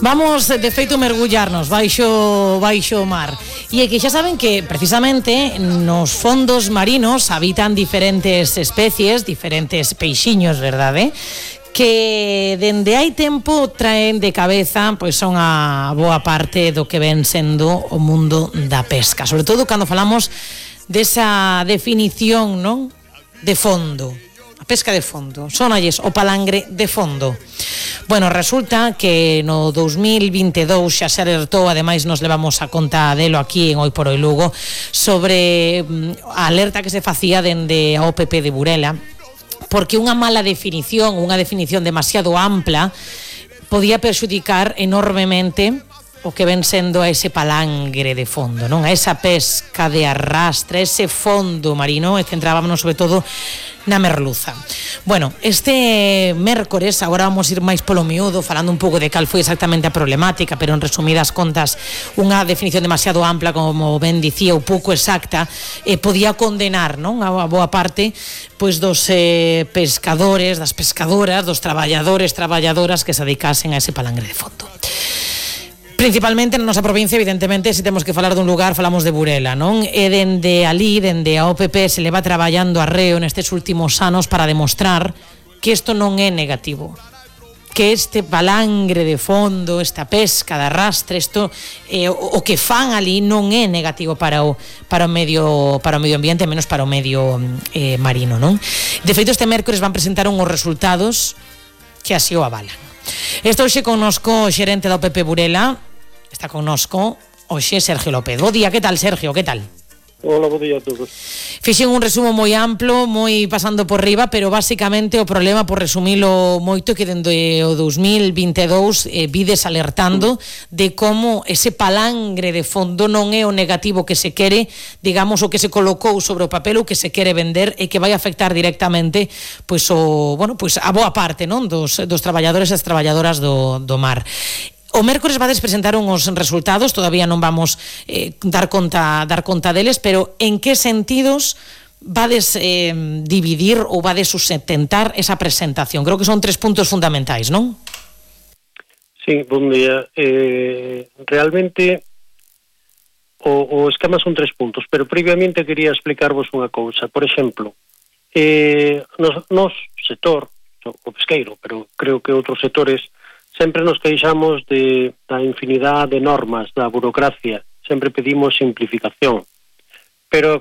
Vamos, de feito, mergullarnos baixo o mar. E é que xa saben que, precisamente, nos fondos marinos habitan diferentes especies, diferentes peixiños, verdade? Que dende hai tempo traen de cabeza pois son a boa parte do que ven sendo o mundo da pesca, sobre todo cando falamos desa definición, non? De fondo. A pesca de fondo, sonalles o palangre de fondo. Bueno, resulta que no 2022 xa se alertou, ademais nos levamos a conta delo aquí en Hoy por Hoy Lugo, sobre a alerta que se facía dende a OPP de Burela, porque unha mala definición, unha definición demasiado ampla, podía perxudicar enormemente o que ven sendo a ese palangre de fondo, non? A esa pesca de arrastre, ese fondo marino, e centrábamos sobre todo na merluza. Bueno, este mércores, agora vamos ir máis polo miúdo, falando un pouco de cal foi exactamente a problemática, pero en resumidas contas, unha definición demasiado ampla, como ben dicía, ou pouco exacta, podía condenar, non? A boa parte pois dos pescadores, das pescadoras, dos traballadoras que se dedicasen a ese palangre de fondo. Principalmente na nosa provincia, evidentemente, se temos que falar dun lugar, falamos de Burela, non? E dende ali, dende a OPP, se leva traballando arreo nestes últimos anos para demostrar que isto non é negativo, que este palangre de fondo, esta pesca de arrastre, isto o que fan ali non é negativo para o medio ambiente, menos para o medio marino, non? De feito, este mércores van presentar uns resultados que así o avalan. Estou hoxe connosco o xerente da OPP Burela, está connosco hoxe Sergio López. Bo día, que tal, Sergio, que tal? Hola, bo día a todos. Fixen un resumo moi amplo, moi pasando por riba, pero basicamente o problema, por resumilo moito, que dende o 2022 vides alertando de como ese palangre de fondo non é o negativo que se quere, digamos, o que se colocou sobre o papel, o que se quere vender, e que vai afectar directamente pois a boa parte, non, dos traballadores e as traballadoras do mar. O mércores vades presentar uns resultados, todavía non vamos dar conta deles, pero en que sentidos vades dividir ou vades sustentar esa presentación? Creo que son 3 puntos fundamentais, non? Sí, bon día. Realmente o esquema son 3 puntos, pero previamente quería explicarvos unha cousa. Por exemplo, nos sector, o pesqueiro, pero creo que outros sectores, sempre nos queixamos da infinidade de normas, da burocracia, sempre pedimos simplificación, pero